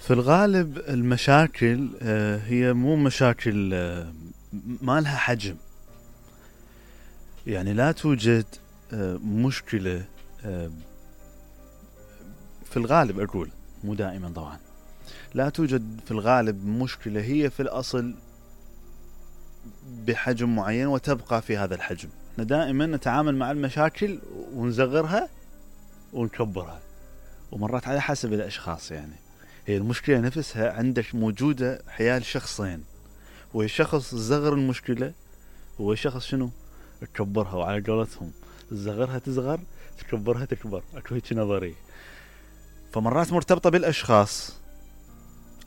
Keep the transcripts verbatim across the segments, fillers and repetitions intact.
في الغالب المشاكل هي مو مشاكل ما لها حجم، يعني لا توجد مشكلة في الغالب، أقول مو دائما طبعا، لا توجد في الغالب مشكلة هي في الأصل بحجم معين وتبقى في هذا الحجم. احنا دائما نتعامل مع المشاكل ونصغرها ونكبرها، ومرات على حسب الأشخاص. يعني هي المشكلة نفسها عندك موجودة حيال شخصين، والشخص صغر المشكلة والشخص شنو تكبرها، وعلى قولتهم صغرها تصغر تكبرها تكبر، اكو هيك نظرية. فمرات مرتبطة بالأشخاص،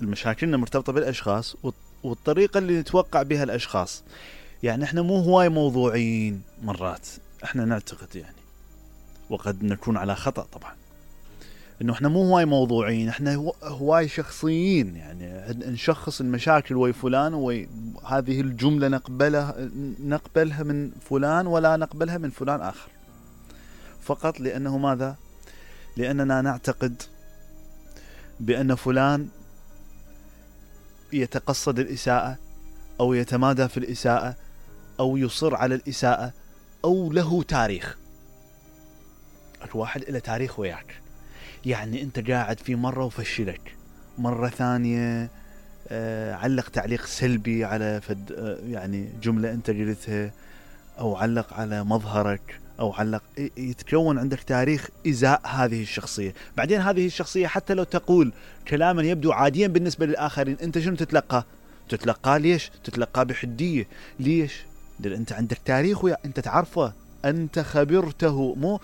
المشاكلنا مرتبطة بالأشخاص والطريقة اللي نتوقع بها الأشخاص. يعني احنا مو هواي موضوعيين مرات، احنا نعتقد يعني، وقد نكون على خطأ طبعا، انه احنا مو هواي موضوعيين، احنا هواي شخصيين. يعني نشخص المشاكل وي فلان، وهذه الجملة نقبلها نقبلها من فلان ولا نقبلها من فلان آخر، فقط لأنه ماذا؟ لأننا نعتقد بأن فلان يتقصد الإساءة أو يتمادى في الإساءة أو يصر على الإساءة أو له تاريخ. الواحد إلى تاريخ وياك، يعني أنت قاعد في مرة وفشلك، مرة ثانية آه علق تعليق سلبي على فد آه يعني جملة أنت قلتها، أو علق على مظهرك، أو علق، يتكون عندك تاريخ إزاء هذه الشخصية. بعدين هذه الشخصية حتى لو تقول كلاما يبدو عاديا بالنسبة للآخرين، أنت شنو تتلقى؟ تتلقى ليش؟ تتلقى بحدية. ليش؟ لأن أنت عندك تاريخ ويا أنت تعرفه، أنت خبرته، مو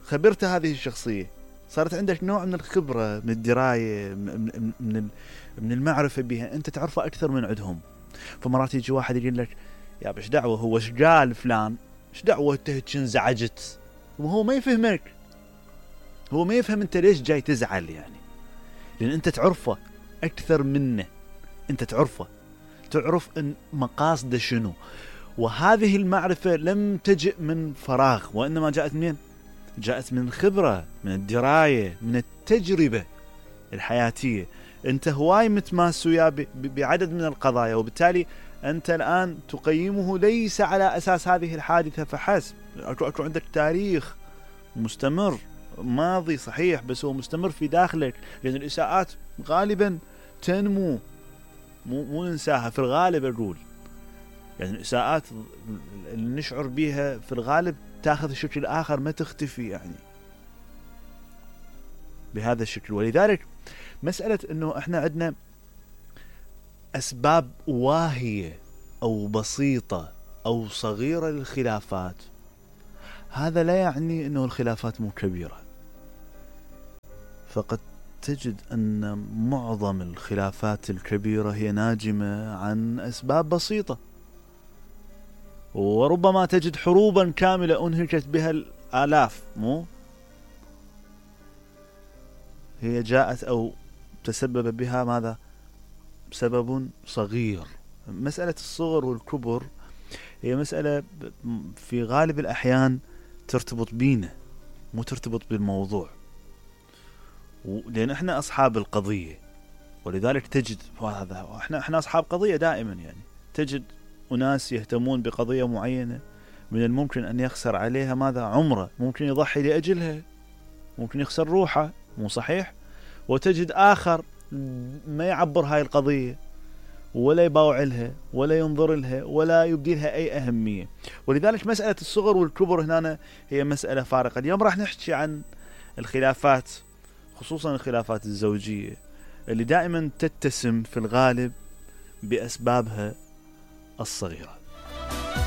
خبرت هذه الشخصية، صارت عندك نوع من الخبرة، من الدراية، من من من المعرفة بها، أنت تعرفه أكثر من عندهم. فمرات يجي واحد يقول لك يا بش دعوة هو ايش قال فلان، ايش دعوة انت هيك انزعجت، وهو ما يفهمك، هو ما يفهم انت ليش جاي تزعل. يعني لأن انت تعرفه أكثر منه، انت تعرفه، تعرف ان مقاصده شنو. وهذه المعرفة لم تجئ من فراغ، وإنما جاءت منين؟ جاءت من خبرة، من الدراية، من التجربة الحياتية. انت هواي متماس وياه بعدد من القضايا، وبالتالي أنت الآن تقيمه ليس على أساس هذه الحادثة فحسب. أكو, أكو عندك تاريخ مستمر، ماضي صحيح بس هو مستمر في داخلك، لأن الإساءات غالبا تنمو، مو, مو ننساها في الغالب. أقول يعني الإساءات اللي نشعر بها في الغالب تأخذ الشكل الآخر، ما تختفي يعني بهذا الشكل. ولذلك مسألة أنه إحنا عندنا أسباب واهية أو بسيطة أو صغيرة للخلافات، هذا لا يعني أنه الخلافات مو كبيرة. فقد تجد أن معظم الخلافات الكبيرة هي ناجمة عن أسباب بسيطة، وربما تجد حروبا كاملة أنهكت بها الآلاف، مو هي جاءت أو تسبب بها ماذا؟ سبب صغير. مسألة الصغر والكبر هي مسألة في غالب الأحيان ترتبط بينا، مو ترتبط بالموضوع، لأن احنا أصحاب القضية. ولذلك تجد هذا، احنا احنا أصحاب قضية دائما. يعني تجد أناس يهتمون بقضية معينة، من الممكن أن يخسر عليها ماذا؟ عمره، ممكن يضحي لأجلها، ممكن يخسر روحه، مو صحيح؟ وتجد آخر ما يعبر هاي القضية ولا يباوع لها ولا ينظر لها ولا يبدي لها أي أهمية. ولذلك مسألة الصغر والكبر هنا هي مسألة فارقة. اليوم راح نحكي عن الخلافات، خصوصا الخلافات الزوجية اللي دائما تتسم في الغالب بأسبابها الصغيرة.